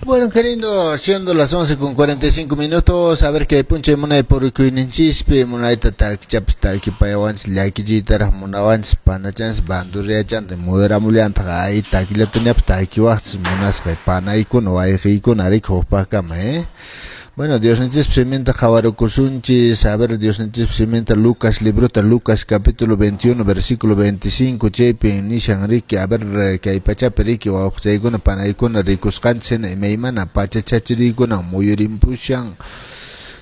Bueno, qué lindo, siendo las 11:45, a ver qué punche munay purikuyninchispi, munayta takichapas takipayawanchis, llakichiytaraq munawanchis, panachanchis, bandurriachanta, moderamullantaj, ay takillatañapas takiwaqchis munasqay panaykuna, wayqiykuna, riki hukpaqkama, ¿eh? Bueno, Diosninchis siminta qhawarukusunchis, a ver, Diosninchis siminta Lucas librota, Lucas capítulo 21, versículo 25, chaypi nishan riki, a ver, kay pachapi riki, wawqichaykuna, panaykuna, rikusqanchis hina imaymana pachachachiriykuna muyurimpushan,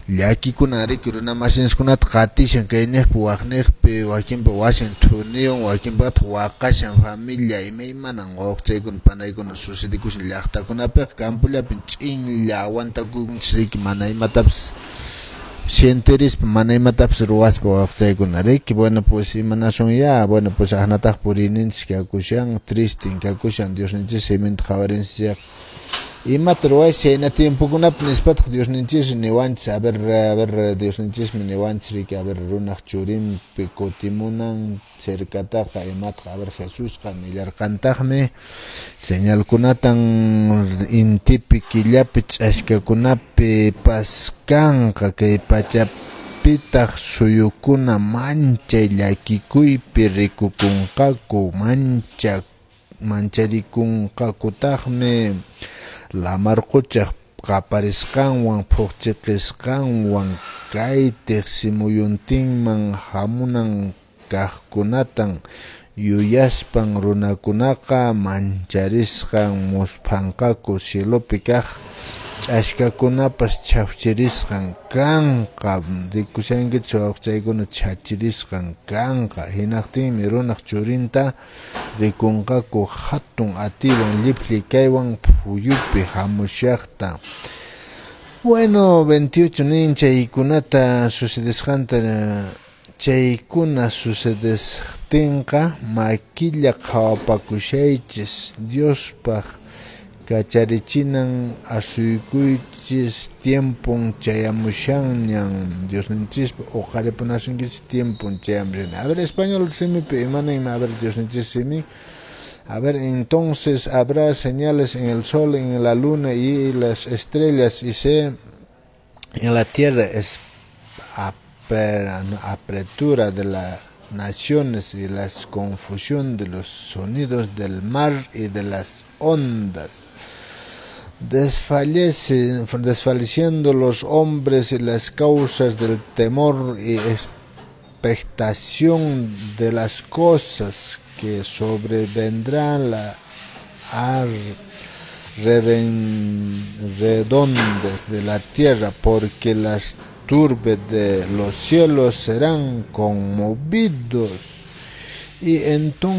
llakikuna riki runa masinchiskunata qatishan kayniqpi waqniqpi, wakinpi wasin thuniyun, wakinpataq waqashan familia, imaymanan wawqichaykuna, panaykuna sucedikushan llaqtakunapiqa, campollapin ch'inlla aguantakunchis riki, mana imatapas sienterispa, mana imatapas ruwaspa wawqichaykuna riki. Bueno, pues imanasun ya, bueno, pues aqnataq puriyninchis kakushan, tristin kakushan, Diosninchis siminta qhawarinchis. Imata ruwaychis chayna tiempokunapi nispataq Diosninchis niwanchis, a ver, Diosninchismi niwanchis riki, a ver, runaq churinpi kutimunan cercataqa imataq, a ver, Jesusqa nillarqantaqmi señalkunatan intipi, killapi, ch'askakunapi paskanqa, kay pachapitaq suyukuna manchay llakikuypi rikukunqaku, mancharikunqakutaqmi lamar quchaq qaparisqanwan, phuqchiqisqanwan, kay tiqsimuyuntinman hamunan kaqkunatan yuyaspan runakunaqa mancharisqan musphanqaku, cielopi kaq ch'askakunapas chhawchirisqan kanqa, rikushankichis wawqichaykuna chhachirisqan kanqa, hinaqtinmi runaq churinta rikunqaku hatun atiywan llipli kaywan phuyupi hamushaqta. Bueno, 28 nin chaykunata sucedesqanta, chaykuna sucedesqtinqa makilla qhawapakushaychis, Diospaq kacharichinan asuykuychis tiempon chayamushanñan, Diosninchispa uqaripunasunkichis tiempon chayamushan. A ver, español simipi imaninmi, a ver, Diosninchis simi. A ver, entonces habrá señales en el sol, en la luna y las estrellas, y se en la tierra es apretura de las naciones y la confusión de los sonidos del mar y de las ondas, desfalleciendo los hombres y las causas del temor y expectación de las cosas que sobrevendrán la redondas de la tierra, porque las turbes de los cielos serán conmovidos. Y entonces